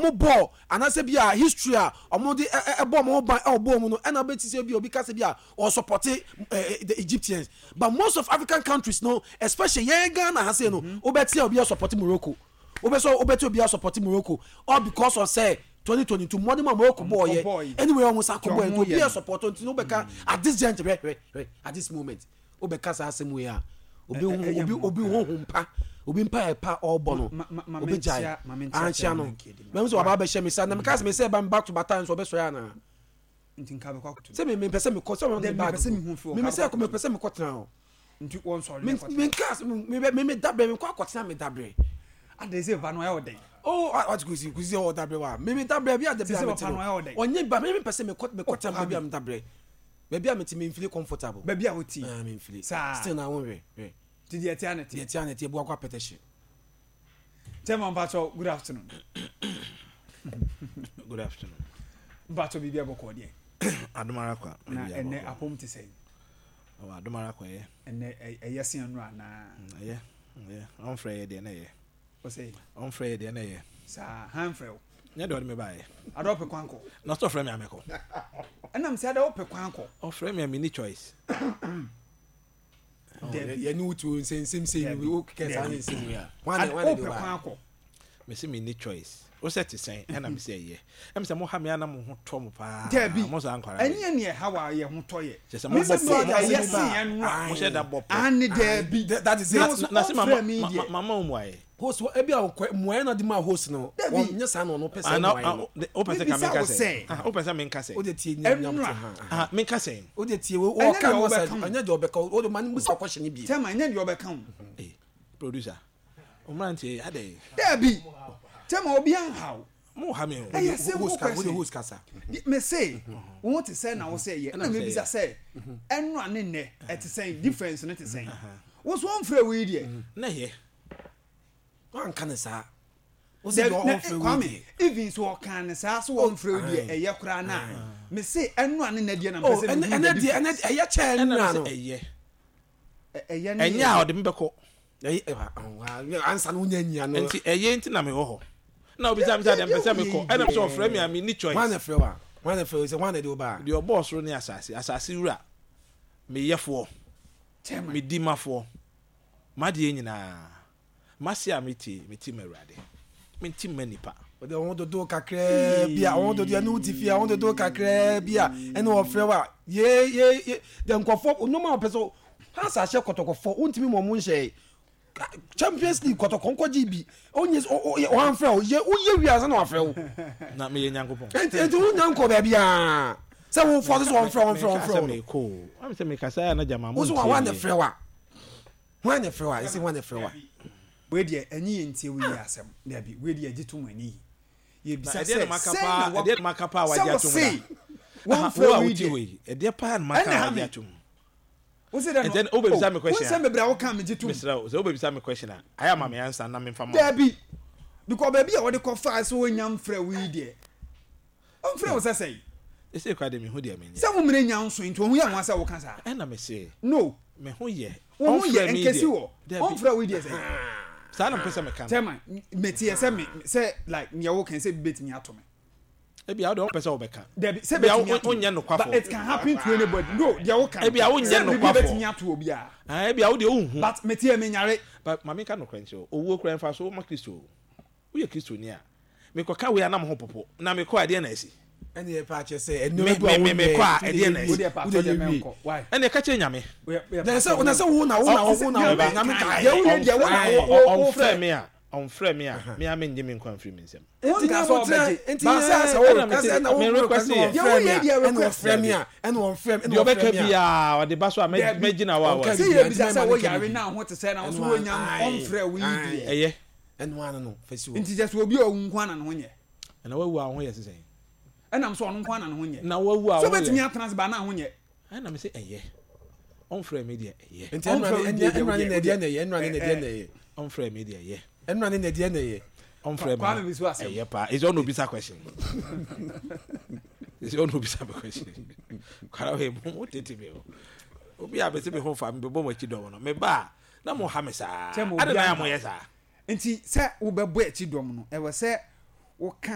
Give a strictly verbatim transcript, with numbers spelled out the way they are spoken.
Ɔmo bɔɔl anaasɛ bi a history a ɔmo de ɛbɔ ɔmo ho ban ɛwɔ bɔɔl mu no, ɛna bɛ ti sɛ bi obi kasa bi a ɔsupport ɛɛ the Egyptians. But most of African countries no, especially yɛn Ghana ha sei no, wobɛte a obi asupport Morocco, wobɛsɛ wobɛte obi asupport Morocco, all because of say twenty twenty-two mmɔden mu a Morocco bɔɔl yɛ. Anyway, ɔmo sa kɔ bɔɔl nti obi asupport. Nti no wobɛka at this gent hwɛ, hwɛ, hwɛ, at this moment wobɛka saa asɛm wei a, obi ho obi obi ho ho mpa, obi mpa yɛ pa ɔrebɔ no, obi gyae anhyia no mɛmu sɛ waba abɛhyɛ mi sa na meka sɛ me sɛ ɛba mi back to back nso ɔbɛsɔre ana sɛ me mepɛ sɛ mekɔ sɛ ɔmo ne bag me me sɛ mepɛ sɛ mekɔ tena hɔ. Nti wɔn sɔre. Me me nka me me me dabrɛ, me kɔ akɔtena me dabrɛ. Ade sɛ ba no ɛyɛ ɔdɛn? Oh, wati kusi kusi sɛ ɔdabrɛ wa me me dabrɛ bi a dabi a me te no ɔnye ba me me pɛ sɛ mekɔ mekɔ tena baabi a me dabrɛ, baabi a me te, me nfeel comfortable. Baabi a wote? Ah, me nfeel. Saa. Still na wɔn hwɛ hwɛ. Ti deɛ tia ne te. Deɛ tia ne te ebu akɔ apɛtɛhye. Chairman, mpatsɔ, good afternoon. Good afternoon. Mpatsɔ, biribi abɔkɔ deɛ? Adomara kwa. Na ɛnɛ apɔm te sɛn? Ɔwɔ adomara kwa yɛ. Ɛnɛ ɛyɛ sen no anaa? Ɛyɛ, ɛyɛ. Ɔnfrɛ yɛ deɛ na ɛyɛ. Ɔsɛ? Ɔnfrɛ yɛ deɛ na ɛyɛ. Saa han frɛ wo? Nyɛ deɛ ɔde me baayɛ. Ada ɔpɛ kwan kɔ. Na ɔsɛ ɔfrɛ me amɛkɔ. Ɛnam sɛ ada ɔpɛ kwan kɔ. Ɔfrɛ me a, me ni choice. Yɛne wotu nsɛnsɛm sɛ wo kɛ saa ne nsɛm wei a ɔpɛ kwan kɔ. Mesi me ni choice. Wo sɛ te sɛn? Ɛna me sɛ ɛyɛ. Ɛmi sɛ mo ha me ana mo ho tɔ mo paa. Dabi. Mo saa nkwara. Ɛnyɛ ni ɛha wa yɛ ho tɔ yɛ. Kyɛ sɛ mo bɔ pɔ. Ɛyɛ sen ɛnu a. Mo hyɛ da bɔ pɔ. Ani dabi. That is it. Na se mama mama wo mu ayɛ. Host ebi a ɔkɔ mmuaeɛ na de ma host no, wɔn nyɛ saa na ɔno pɛ sɛ mmuaeɛ no. Wopɛ sɛ ka menka sɛ, wopɛ sɛ menka sɛ. O de tie nyam nyam te ha. Menka sɛ. O de tie o, ɔka no sɛ ɛnyɛ deɛ ɔbɛka o de ma ne musa kɔhyɛ ne bi. Tɛma, ɛnyɛ deɛ ɔbɛka o. Ee, producer, ɔmmeranteɛ adɛ. Dabi, tɛma, obi anhaw. Mo ha mi o. Ɛyɛ simple question. Wo de host kasa. Me se wo te sɛ na wo sɛ yɛ, ɛna mebisa sɛ ɛno a ne nnɛ ɛte sɛn, difference no te sɛn? Wo so ɔmfrɛ wo yi deɛ. Na yɛ. Wanka ne saa. Wo sɛ deɛ ɔmfrɛ wo Kwame deɛ. Even so ɔka ne saa so ɔmfrɛ wo deɛ, ɛyɛ koraa na me se ɛno a ne nnɛ deɛ na mpɛ sɛ ɛnɛ mehu ɛnɛ the deɛ ɛnɛ difference. ɛyɛ kyɛn ɛna nna me no. sɛ ɛyɛ. Ɛyɛ ne ɛnyɛ a ɔde me bɛkɔ. Ɛyɛ ansa no wonya nyia no. Nti ɛyɛ nti na mewɔ hɔ na obi sɛ mi sɛ deɛ mpɛ sɛ mekɔ, ɛna mi sɛ ɔfrɛ mi a, mi ni choice. Hwan na frɛ wa? Hwan na frɛ wo sɛ hwan na de wo ba? Deɛ ɔbɔɔ soro ne asase, asase wura, meyɛfoɔ, Chairman. Me dimafoɔ, m'adeɛ nyinaa, m'ase a metie, mete ma Awurade, mente ma nipa. Wɔde wɔn dodo kakraa bi a wɔn dodo ɛne wo ti fie a wɔn dodo kakraa bi a ɛne wɔfrɛ wa ye ye ye deɛ nkɔfɔ nneɛma a wɔpɛ sɛ hansa ahyɛ Kɔtɔkɔfɔ, wontumi ma ɔmo nhyɛ Champions League. Kɔtɔkɔ nkɔgye bi onye ɔhanfrɛ wo yɛ woyɛ wi ansa na wafrɛ wo. Na meyɛ Nyankopɔn? Nti nti wonya nkɔ baabi a sɛ wofɔ so sɛ wɔmfrɛ wɔmfrɛ Menka wɔmfrɛ sɛ wo no. mekɔ o wame sɛ mekasa a na gyama mo. Wo so wa hwan na ntie. frɛ wa? Hwan na frɛ wa? Ɛsɛ hwan na frɛ wa? Wei deɛ, ɛnyɛ yɛn ntie wo yi asɛm. Dabi, wei deɛ gye tom ani Na yɛbisa ɛdeɛ sɛ na maka sɛn paa na wa ɛdeɛ na maka paa sɛ wagye wo atom se da wɔmfrɛ wo a wo yi wote deɛ hɔ yi, ɛdeɛ paa na maka ɛna a ha wagye me atom? Wo se dɛ no. Ɛnti wobɛbisa me question wo a nsɛm bebree a woka me gye tom. Mesrɛ wo sɛ wobɛbisa me question a, ayɛ ama me ansa na memfa ma wo. Dabi, because baabi a wɔde kɔfaa sɛ wɔnya mfrɛ wo yi deɛ, ɔmfrɛ wo sɛ sɛn? Ɛsɛ kora de mehu deɛ menyɛ. Sɛ wo mmerɛ nya nso nti ɔho yɛ nwa sɛ woka saa. Ɛna mese no me ho yɛ. Wo ho yɛ Ɔmfrɛ me nkɛsi deɛ. wɔ Dabi. Ɔmfrɛ wo yi deɛ sɛn? Saa na mpɛ sɛ meka no. Chairman, meteɛ sɛ me sɛ like nea woka sɛ bi bɛtumi ato me. Ebia wode wɔpɛ sɛ wobɛka. Dabi, sɛ Ebia bɛtumi wo- ato wonyɛ me. nokwafo. But it can happen to anybody. No, deɛ woka no Ebia wonyɛ sɛ biribi nokwafo. bɛtumi ato obiara. Ah, ebia wode wonhu. But meteɛ menyare. But ma menka nokorɛ nkyerɛ wo, owuo kora mfa so woma Kristo o. Woyɛ Kristoni a, mekɔka wei a na mo ho popo na mekɔ a, ɛdeɛ na asi? Ɛne yɛ pɛ akyɛ sɛ Me- ɛnneɛma bi a me- me- mekɔ a, wonyɛ ɛdeɛ na wie asi? Wo deɛ pa wode atɔ deɛ yɛ wie mɛnkɔ. Why? Ɛne ɛka kyerɛ Nyame. Na sɛ na sɛ wo na wo na wo na wo Nyame ka. Deɛ woyɛ deɛ wo na wo wo wo Ɔmfrɛ fɛ. me a, ɔmfrɛ me a, me a mengye me nkwa mfiri me nsam. Wonka Nti sɛ nyabotrɛ ɔbɛgye. nti Ba sɛ sɛ wo Ɛna request. mese- ɛna wo me request yɛ. Deɛ woyɛ deɛ ɛna request. ɔfrɛ me a, ɛna ɔmfrɛ me, Deɛ ɛna ɔbɛka ɔfrɛ me a biaa ɔde ba so a mɛ- Dabi. mɛgyina hɔ a Ɔnka wɔ Sɛ bi. yɛbisa Nti sɛ mɛma wo no ka yare bi. na ho te sɛ na wo so Ɛno wonya ae. ɔmfrɛ wo yi deɛ. Ɛyɛ. Ɛno ano no fɛsi wɔ. Nti kyɛ sɛ obi a ɔwu nko ana ne ho nyɛ? Ɛna wawu a wo ho yɛ sesɛn? Ɛnam sɛ ɔno nko ana ne ho nyɛ. Na wawu a sɛ wo ho wobɛtumi yɛ atena ase ba na ho nyɛ. Ɛna me sɛ ɛyɛ, ɔmfrɛ me deɛ, ɛyɛ. Nti ɛnura Ɔmfrɛ wo ne deɛ, ɛnura ne deɛ, na ɛdeɛ na ɛyɛ, ɛnura ne na ɛdeɛ na ɛyɛ. Ɔmfrɛ me deɛ, ɛyɛ. Ɛnura ne na ɛdeɛ na ɛyɛ. Ɔmfrɛ Kwame me bi so asɛm. Ɛyɛ paa. Ɛsɛ ɔna obisa question, ɛsɛ ɔna obisa me question. Kwara wei mo mo tete me o, obi a bɛsɛ me ho fa me bɛbɔ mo akyi dɔm no, me ba a na mo ha me saa. Kyɛ mo ade na obi yɛ aha. mo yɛ saa. Nti sɛ wobɛbɔ akyi dɔm no, ɛwɔ sɛ woka.